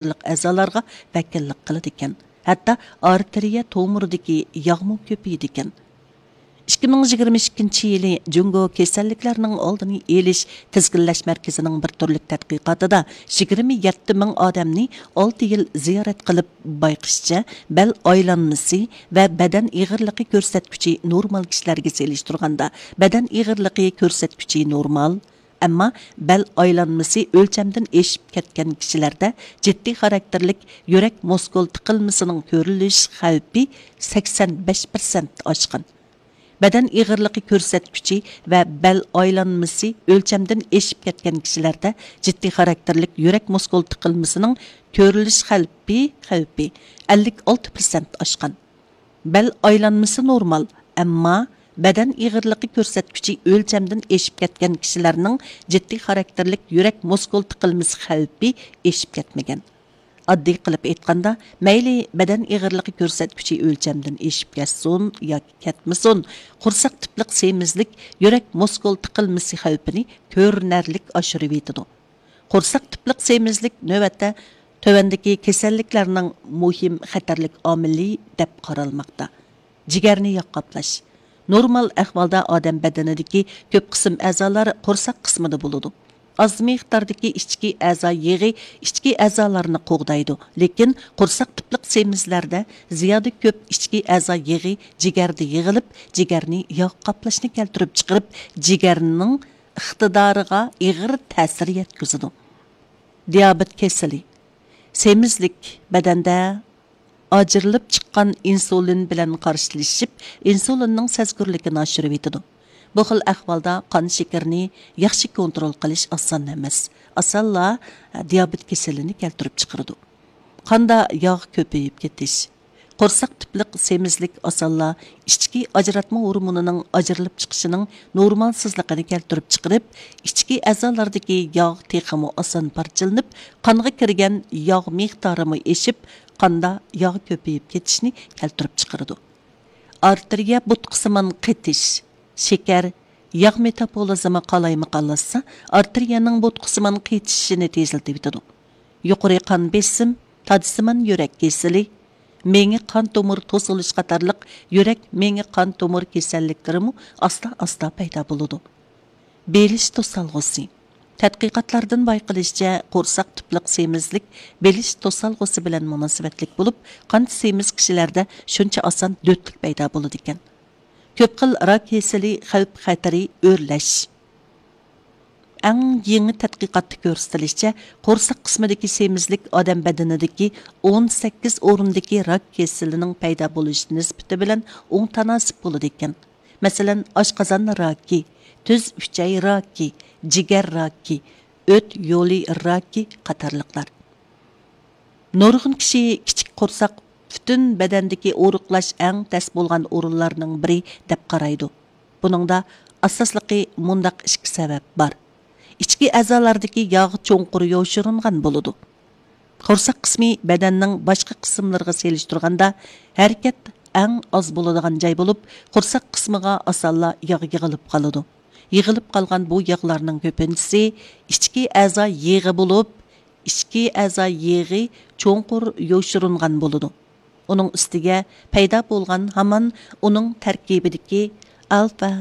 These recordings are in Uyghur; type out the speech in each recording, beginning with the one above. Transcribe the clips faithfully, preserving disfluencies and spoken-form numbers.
ئەزالارغا ۋەكىللىك قىلىدىكەن. ھەتتا ئارتېرىيە تومۇرىدىكى ياغمۇ كۆپىيىدىكەن. ئىككى مىڭ يىگىرمە ئىككىنچى يىلى جۇڭگو كېسەللىكلەرنىڭ ئالدىنى ئېلىش تىزگىنلەش مەركىزىنىڭ بىر تۈرلۈك تەتقىقاتىدا يىگىرمە يەتتە مىڭ ئادەمنى ئالتە يىل زىيارەت قىلىپ بايقىشىچە، بەل ئايلانمىسى ۋە بەدەن ئېغىرلىقى كۆرسەتكۈچى نورمال كىشىلەرگە سېلىشتۇرغاندا، بەدەن ئېغىرلىقى كۆرسەتكۈچى نورمال، ئەمما بەل ئايلانمىسى ئۆلچەمدىن ئېشىپ كەتكەن كىشىلەردە جىددىي خاراكتېرلىك يۈرەك مۇسكۇل تىقىلمىسىنىڭ كۆرۈلۈش خەۋپى سەكسەن بەش پىرسەنت ئاشقان. بەدەن ئېغىرلىقى كۆرسەتكۈچى ۋە بەل ئايلانمىسى ئۆلچەمدىن ئېشىپ كەتكەن كىشىلەردە جىددىي خاراكتېرلىك يۈرەك مۇسكۇل تىقىلمىسىنىڭ كۆرۈلۈش خەۋپى، خەۋپى ئەللىك ئالتە پىرسەنت ئاشقان. بەل ئايلانمىسى نورمال، ئەمما بەدەن ئېغىرلىقى كۆرسەتكۈچى ئۆلچەمدىن ئېشىپ كەتكەن كىشىلەرنىڭ جىددىي خاراكتېرلىك يۈرەك مۇسكۇل تىقىلمىسى خەۋپى ئېشىپ كەتمىگەن. ئاددىي قىلىپ ئېيتقاندا، مەيلى بەدەن ئېغىرلىقى كۆرسەتكۈچى ئۆلچەمدىن ئېشىپ كەتسۇن ياكى كەتمىسۇن، قورساق تىپلىق سېمىزلىك يۈرەك مۇسكۇل تىقىلمىسى خەۋپىنى كۆرۈنەرلىك ئاشۇرۇۋېتىدۇ. قورساق تىپلىق سېمىزلىك نۆۋەتتە تۆۋەندىكى كېسەللىكلەرنىڭ مۇھىم خەتەرلىك ئامىلى دەپ قارالماقتا. جىگەرنى ياغ قاپلاش. نورمال ئەھۋالدا ئادەم بەدىنىدىكى كۆپ قىسىم ئەزالار قورساق قىسمىدا بولىدۇ. ئاز مىقداردىكى ئىچكى ئەزا يېغى ئىچكى ئەزالارنى قوغدايدۇ، لېكىن قورساق تىپلىق سېمىزلەردە زىيادە كۆپ ئىچكى ئەزا يېغى جىگەردە يىغىلىپ، جىگەرنى ياغ قاپلاشنى كەلتۈرۈپ چىقىرىپ، جىگەرنىڭ ئىقتىدارىغا ئېغىر تەسىر يەتكۈزىدۇ. دىيابېت كېسىلى. سېمىزلىك بەدەندە ئاجرىلىپ چىققان ئىنسۇلىن بىلەن قارشىلىشىپ، ئىنسۇلىننىڭ سەزگۈرلۈكىنى ئاشۇرۇۋېتىدۇ. بۇ خىل ئەھۋالدا قان شېكىرىنى ياخشى كونترول قىلىش ئاسان ئەمەس. ئاسانلا دىيابېت كېسىلىنى كەلتۈرۈپ چىقىرىدۇ. قاندا ياغ كۆپىيىپ كېتىش. قورساق تىپلىق سېمىزلىك ئاسانلا ئىچكى ئاجراتما ھورمونىنىڭ ئاجرىلىپ چىقىشىنىڭ نورمالسىزلىقىنى كەلتۈرۈپ چىقىرىپ، ئىچكى ئەزالاردىكى ياغ تېخىمۇ ئاسان پارچىلىنىپ، قانغا كىرگەن ياغ مىقدارىمۇ ئېشىپ، قاندا ياغ كۆپىيىپ كېتىشنى كەلتۈرۈپ چىقىرىدۇ. ئارتېرىيە بوتقىسىمان قېتىش، شېكەر، ياغ مېتابولىزمى قالايمىقانلاشسا، ئارتېرىيەنىڭ بوتقىسىمان قېتىشىشىنى تېزلىتىۋېتىدۇ. يۇقىرى قان بېسىم، تاجسىمان يۈرەك كېسىلى، مېڭە قان تومۇر توسۇلۇش قاتارلىق يۈرەك مېڭە قان تومۇر كېسەللىكلىرىمۇ ئاستا-ئاستا پەيدا بولىدۇ. بېلىش توسالغۇسى. تەتقىقاتلاردىن بايقىلىشىچە، قورساق تىپلىق سېمىزلىك بېلىش توسالغۇسى بىلەن مۇناسىۋەتلىك بولۇپ، قانچە سېمىز كىشىلەردە شۇنچە ئاسان دۆتلۈك پەيدا بولىدىكەن. كۆپ خىل راك كېسىلى خەۋپ خەتىرى ئۆرلەش. ئەڭ يېڭى تەتقىقاتتا كۆرسىتىلىشىچە، قورساق قىسمىدىكى سېمىزلىك ئادەم بەدىنىدىكى ئون سەككىز ئورۇندىكى راك كېسىلىنىڭ پەيدا بولۇش نىسبىتى بىلەن ئوڭ تاناسىپ بولىدىكەن. مەسىلەن، ئاشقازان راكى، تۈز ئۈچەي راكى، جىگەر راكى، ئۆت يولى راكى قاتارلىقلار. نۇرغۇن كىشى كىچىك قورساق پۈتۈن بەدەندىكى ئورۇقلاش ئەڭ تەس بولغان ئورۇنلارنىڭ بىرى دەپ قارايدۇ. بۇنىڭدا ئاساسلىقى مۇنداق ئىككى سەۋەب بار. ئىچكى ئەزالاردىكى ياغ چوڭقۇر يوشۇرۇنغان بولىدۇ. قورساق قىسمى بەدەننىڭ باشقا قىسىملىرىغا سېلىشتۇرغاندا ھەرىكەت ئەڭ ئاز بولىدىغان جاي بولۇپ، قورساق قىسمىغا ئاسانلا ياغ يىغىلىپ قالىدۇ. يىغىلىپ قالغان بۇ ياغلارنىڭ كۆپىنچىسى ئىچكى ئەزا يېغى بولۇپ، ئىچكى ئەزا يېغى چوڭقۇر يوشۇرۇنغان بولىدۇ. ئۇنىڭ ئۈستىگە پەيدا بولغان ھامان ئۇنىڭ تەركىبىدىكى ئالفا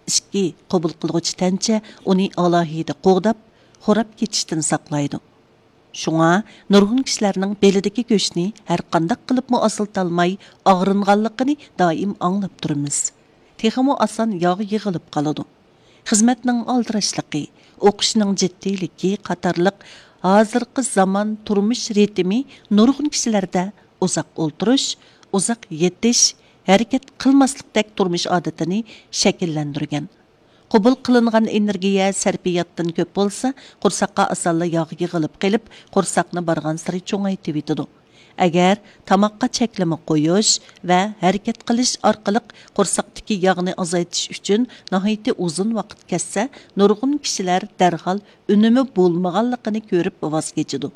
ئىككى قوبۇل قىلغۇچى تەنچە ئۇنى ئالاھىدە قوغداپ، خوراپ كېتىشتىن ساقلايدۇ. شۇڭا نۇرغۇن كىشىلەرنىڭ بېلىدىكى گۆشنى ھەرقانداق قىلىپمۇ ئاسىلتالماي ئاغرىنغانلىقىنى دائىم ئاڭلاپ تۇرىمىز. تېخىمۇ ئاسان ياغ يىغىلىپ قالىدۇ. خىزمەتنىڭ ئالدىراشلىقى، ئوقۇشنىڭ جىددىيلىكى قاتارلىق ھازىرقى زامان تۇرمۇش رىتىمى نۇرغۇن كىشىلەردە ئۇزاق ئولتۇرۇش، ئۇزاق يېتىش، ھەرىكەت قىلماسلىقتەك تۇرمۇش ئادىتىنى شەكىللەندۈرگەن. قوبۇل قىلىنغان ئېنېرگىيە سەرپىياتتىن كۆپ بولسا، قورساققا ئاسانلا ياغ يىغىلىپ قېلىپ، قورساقنى بارغانسېرى چوڭايتىۋېتىدۇ. ئەگەر تاماققا چەكلىمە قويۇش ۋە ھەرىكەت قىلىش ئارقىلىق قورساقتىكى ياغنى ئازايتىش ئۈچۈن ناھايىتى ئۇزۇن ۋاقىت كەتسە، نۇرغۇن كىشىلەر دەرھال ئۈنۈمى بولمىغانلىقىنى كۆرۈپ ۋاز كېچىدۇ.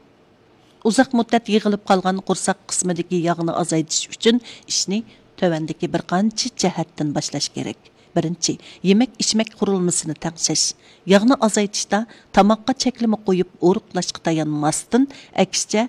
ئۇزاق مۇددەت يىغىلىپ قالغان قورساق قىسمىدىكى ياغنى ئازايتىش ئۈچۈن ئىشنى تۆۋەندىكى بىر قانچە جەھەتتىن باشلاش كېرەك. بىرىنچى، يېمەك-ئىچمەك قۇرۇلمىسىنى تەڭشەش. ياغنى ئازايتىشتا تاماققا چەكلىمە قويۇپ ئورۇقلاشقا تايانماستىن، ئەكسىچە،